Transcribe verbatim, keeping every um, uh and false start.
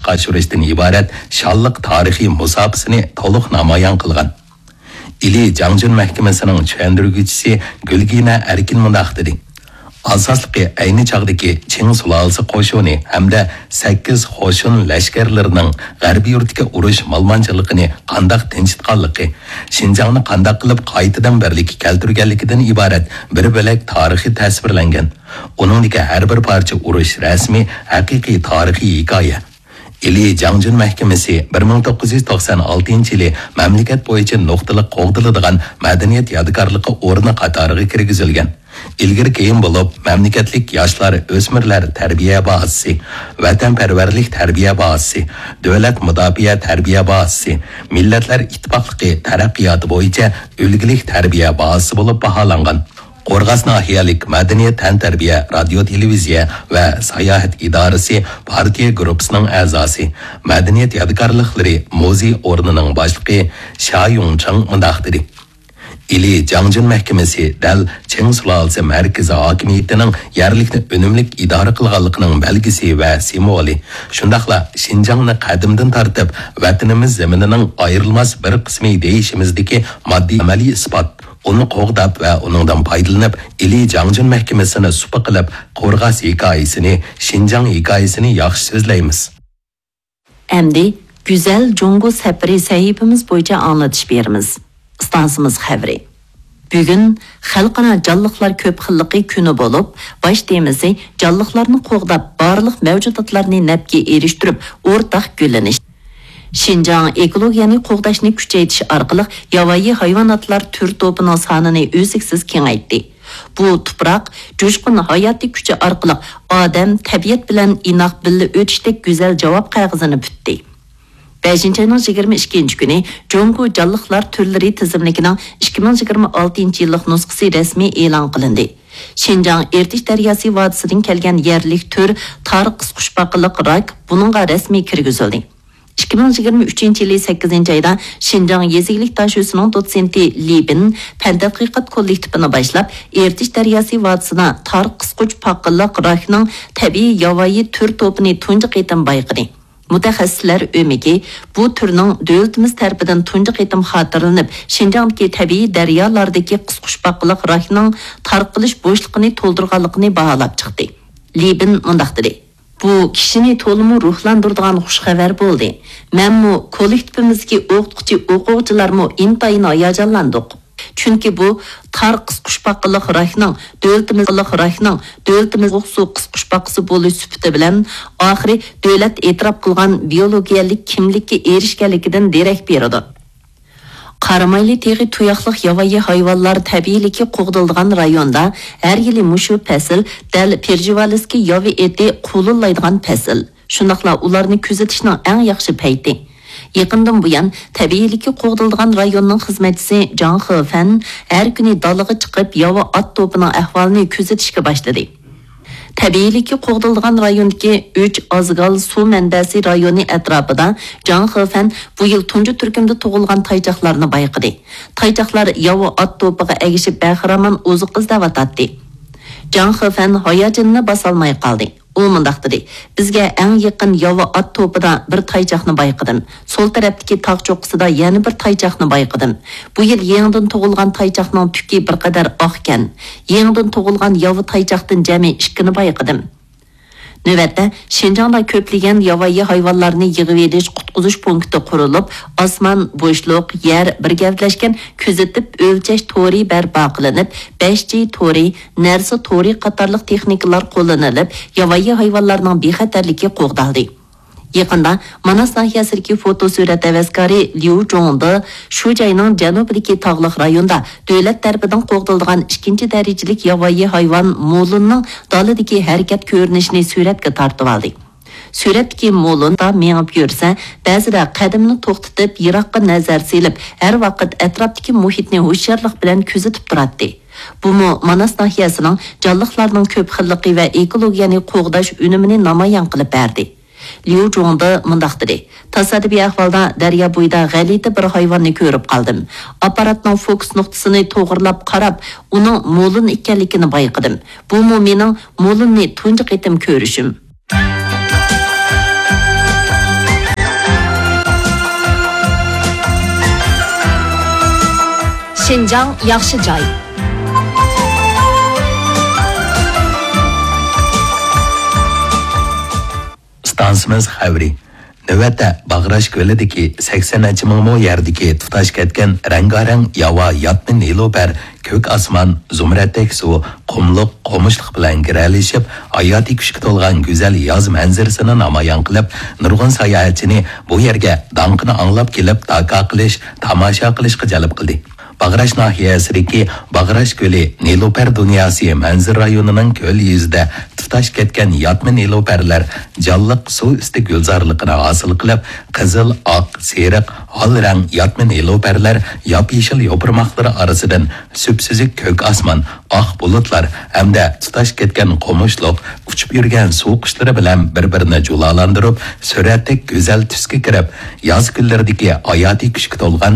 ئاشۇرۇشتىن ئىبارەت شانلىق تارىخىي مۇساپىسىنى تولۇق نامايان قىلغان. ئىلى جاڭجۈن مەھكىمىسىنىڭ چۈشەندۈرگۈچىسى گۈلگىنە ئەركىن مۇنداق دېدى: ئاساسلىقى ئەينى چاغدىكى چىڭ سۇلالىسى قوشۇنى ھەمدە سەككىز قوشۇن لەشكەرلىرىنىڭ غەربىي يۇرتتىكى ئۇرۇش مالىمانچىلىقىنى قانداق تىنچىتقانلىقى، شىنجاڭنى قانداق قىلىپ قايتىدىن بىرلىككە كەلتۈرگەنلىكىدىن ئىبارەت بىر بۆلەك تارىخى تەسۋىرلەنگەن. ئۇنىڭدىكى ھەر بىر پارچە ئۇرۇش رەسىمى ھەقىقىي تارىخىي ھېكايە. ئىلى جاڭجۈن مەھكىمىسى بىر مىڭ توققۇز يۈز توقسان ئالتىنچى يىلى مەملىكەت بويىچە نۇقتىلىق قوغدىلىدىغان مەدەنىيەت يادىكارلىقى ئورنى قاتارىغا كىرگۈزۈلگەن. ئىلگىرى كېيىن بولۇپ، مەملىكەتلىك ياشلار، ئۆسمۈرلەر تەربىيە بازىسى، ۋەتەنپەرۋەرلىك تەربىيە بازىسى، دۆلەت مۇداپىئە تەربىيە بازىسى، مىللەتلەر ئىتتىپاقلىقى تەرەققىياتى بويىچە ئۈلگىلىك تەربىيە بازىسى بولۇپ باھالانغان. قورغاس ناھىيەلىك مەدەنىيەت، تەنتەربىيە، رادىيو، تېلېۋىزىيە ۋە ساياھەت ئىدارىسى پارتىيە گۇرۇپپىسىنىڭ ئەزاسى، مەدەنىيەت يادىكارلىقلىرى مۇزېي ئورنىنىڭ باشلىقى شيا يۇڭچىڭ مۇنداق دېدى: ئىلى جاڭجۈن مەھكىمىسى دەل چىڭ سۇلالىسى مەركىزى ھاكىمىيىتىنىڭ يەرلىكنى ئۈنۈملۈك ئىدارە قىلغانلىقىنىڭ بەلگىسى ۋە سىمۋولى، شۇنداقلا شىنجاڭنى قەدىمدىن تارتىپ ۋەتىنىمىز زېمىنىنىڭ ئايرىلماس بىر قىسمى دېيىشىمىزدىكى ماددىي ئەمەلىي ئىسپات. ئۇنى قوغداپ ۋە ئۇنىڭدىن پايدىلىنىپ، ئىلى جاڭجۈن مەھكىمىسىنى سۇپا قىلىپ، قورغاس ھېكايىسىنى، شىنجاڭ ھېكايىسىنى ياخشى سۆزلەيمىز. ئەمدى گۈزەل جۇڭگو سەپىرى سەھىپىمىز بويىچە ئاڭلىتىش بېرىمىز. ئىستانسىمىز خەۋىرى. بۈگۈن خەلقئارا جانلىقلار كۆپ خىللىقى كۈنى بولۇپ، باش تېمىسى جانلىقلارنى قوغداپ، بارلىق مەۋجۇداتلارنى نەپكە ئېرىشتۈرۈپ، ئورتاق گۈللىنىش. شىنجاڭ ئېكولوگىيەنى قوغداشنى كۈچەيتىش ئارقىلىق ياۋايى ھايۋاناتلار تۈر توپىنىڭ سانىنى ئۈزلۈكسىز كېڭەيتتى. بۇ تۇپراق جۇشقۇن ھاياتىي كۈچى ئارقىلىق ئادەم، تەبىئەت بىلەن ئىناق بىللە ئۆتۈشتەك گۈزەل جاۋاب قەغىزىنى پۈتتى. بەشىنچى ئاينىڭ يىگىرمە ئىككىنچى كۈنى جۇڭگو جانلىقلار تۈرلىرى تىزىملىكىنىڭ ئىككى مىڭ يىگىرمە ئالتىنچى يىللىق نۇسخىسى رەسمىي ئېلان قىلىندى. شىنجاڭ ئىرتىش دەرياسى ۋادىسىدىن كەلگەن يەرلىك تۈر تار قىسقۇچپاقىلىق راك بۇنىڭغا رەسمىي كىرگۈزۈلدى. ئىككى مىڭ يىگىرمە ئۈچىنچى يىلى سەككىزىنچى ئايدا شىنجاڭ يېزا ئىگىلىك داشۆسىنىڭ دوتسېنتى لى بىن پەن تەتقىقات كوللېكتىپىنى باشلاپ، ئىرتىش دەرياسى ۋادىسىدا تار قىسقۇچپاقىلىق راكنىڭ تەبىئىي ياۋايى تۈر توپىنى تۇنجى قېتىم بايقىدى. مۇتەخەسسىسلەر ئۆمىكى بۇ تۈرنىڭ دۆلىتىمىز تەرىپىدىن تۇنجى قېتىم خاتىرىلىنىپ، شىنجاڭدىكى تەبىئىي دەريالاردىكى قىسقۇچپاقىلىق راكنىڭ تارقىلىش بوشلۇقىنى تولدۇرغانلىقىنى باھالاپ چىقتى. لى بىن مۇنداق دېدى: بۇ كىشىنى تولىمۇ روھلاندۇرىدىغان خۇش خەۋەر بولدى. مەنمۇ، كوللېكتىپىمىزدىكى ئوقۇتقۇچى، ئوقۇغۇچىلارمۇ ئىنتايىن ھاياجانلاندۇق. چۈنكى بۇ تار قىسقۇچپاقىلىق راكنىڭ دۆلىتىمىز، راكنىڭ دۆلىتىمىز سۇ قىسقۇچپاقىسى بولۇش سۈپىتى بىلەن ئاخىرى دۆلەت ئېتىراپ قىلغان بىيولوگىيەلىك كىملىككە ئېرىشكەنلىكىدىن دېرەك بېرىدۇ. قارامايلى تېغى تۇياقلىق ياۋايى ھايۋانلار تەبىئىيلىكى قوغدىلىدىغان رايوندا ھەر يىلى مۇشۇ پەسىل دەل پېرژىۋالىسكى ياۋا ئېتى قۇلۇللايدىغان پەسىل، شۇنداقلا ئۇلارنى كۆزىتىشنىڭ ئەڭ ياخشى پەيتى. يېقىندىن بۇيان، تەبىئىيلىكى قوغدىلىدىغان رايوننىڭ خىزمەتچىسى جاڭ خېفەن ھەر كۈنى دالىغا چىقىپ، ياۋا ئات توپىنىڭ ئەھۋالىنى كۆزىتىشكە باشلىدى. تەبىئىيلىكى قوغدىلىدىغان رايوندىكى ئۈچ ئازگال سۇ مەنبەسى رايونى ئەتراپىدا جاڭ خېفەن بۇ يىل تۇنجى تۈركۈمدە تۇغۇلغان تايچاقلارنى بايقىدى. تايچاقلار ياۋا ئات توپىغا ئەگىشىپ، بەخىرامان ئوزۇق ئىزدەۋاتاتتى. جاڭ خېفەن ھاياجىنىنى باسالماي قالدى. ئۇ مۇنداق دېدى: بىزگە ئەڭ يېقىن ياۋا ئات توپىدا بىر تايچاقنى بايقىدىم. سول تەرەپتىكى تاغ چوققىسىدا يەنە بىر تايچاقنى بايقىدىم. بۇ يىل يېڭىدىن تۇغۇلغان تايچاقنىڭ تۈكى بىر قەدەر ئاقكەن. يېڭىدىن تۇغۇلغان ياۋا تايچاقتىن جەمئىي ئىككىنى بايقىدىم. نۆۋەتتە، شىنجاڭدا كۆپلىگەن ياۋايى ھايۋانلارنى يىغىۋېلىش، قۇتقۇزۇش پونكىتى قۇرۇلۇپ، ئاسمان، بوشلۇق، يەر بىر گەۋدىلەشكەن كۆزىتىپ ئۆلچەش تورى بەرپا قىلىنىپ، بەش جى تورى، نەرسە تورى قاتارلىق تېخنىكىلار قوللىنىلىپ، ياۋايى ھايۋانلارنىڭ بىخەتەرلىكى قوغدالدى. يېقىندا ماناس ناھىيەسىدىكى فوتو سۈرەت ھەۋەسكارى ليۇ جۇڭدې شۇ جاينىڭ جەنۇبىدىكى تاغلىق رايوندا دۆلەت تەرىپىدىن قوغدىلىدىغان ئىككىنچى دەرىجىلىك ياۋايى ھايۋان مولۇننىڭ دالىدىكى ھەرىكەت كۆرۈنۈشىنى سۈرەتكە تارتىۋالدى. سۈرەتتىكى مولۇندا مېڭىپ يۈرسە، بەزىدە قەدىمىنى توختىتىپ، يىراققا نەزەر سېلىپ، ھەر ۋاقىت ئەتراپتىكى مۇھىتنى ھوشيارلىق بىلەن كۆزىتىپ تۇراتتى. بۇمۇ ماناس ناھىيەسىنىڭ جانلىقلارنىڭ كۆپ خىللىقى ۋە ئېكولوگىيەنى قوغداش ئۈنۈمىنى نامايان قىلىپ بەردى. ليۇ جۇڭدې مۇنداق دېدى: تاسادىپىي ئەھۋالدا دەريا بويىدا غەلىتە بىر ھايۋاننى كۆرۈپ قالدىم. ئاپپاراتنىڭ فوكۇس نۇقتىسىنى توغرىلاپ قاراپ، ئۇنىڭ مولۇن ئىكەنلىكىنى بايقىدىم. بۇمۇ مېنىڭ مولۇننى تۇنجى قېتىم كۆرۈشۈم. شىنجاڭ ياخشى جاي. ئىستانسىمىز خەۋىرى. نۆۋەتتە باغراش كۆلىدىكى سەكسەن نەچچە مىڭ مو يەردىكى تۇتاش كەتكەن رەڭگارەڭ ياۋا ياتما نېلۇپەر، كۆك ئاسمان، زۇمرەتتەك سۇ، قۇملۇق، قومۇشلۇق بىلەن گىرەلىشىپ، ھاياتىي كۈچكە تولغان گۈزەل ياز مەنزىرىسىنى نامايان قىلىپ، نۇرغۇن ساياھەتچىنى بۇ يەرگە داڭقىنى ئاڭلاپ كېلىپ، داكا قىلىش، تاماشا قىلىشقا جەلپ قىلدى. باغراش ناھىيەسىدىكى باغراش كۆلى نېلۇپەر دۇنياسى مەنزىرە رايونىنىڭ كۆل يۈزىدە تۇتاش كەتكەن ياتما نېلۇپەرلەر جانلىق سۇ ئۈستى گۈلزارلىقىنى ھاسىل قىلىپ، قىزىل، ئاق، سېرىق، ھال رەڭ ياتما نېلۇپەرلەر ياپيېشىل يوپۇرماقلىرى ئارىسىدىن سۈپسۈزۈك كۆك ئاسمان، ئاق بۇلۇتلار ھەمدە تۇتاش كەتكەن قومۇشلۇق، ئۇچۇپ يۈرگەن سۇ قۇشلىرى بىلەن بىر-بىرىنى جۇلالاندۇرۇپ، سۈرەتتەك گۈزەل تۈسكە كىرىپ، ياز كۈنلىرىدىكى ھاياتىي كۈچكە تولغان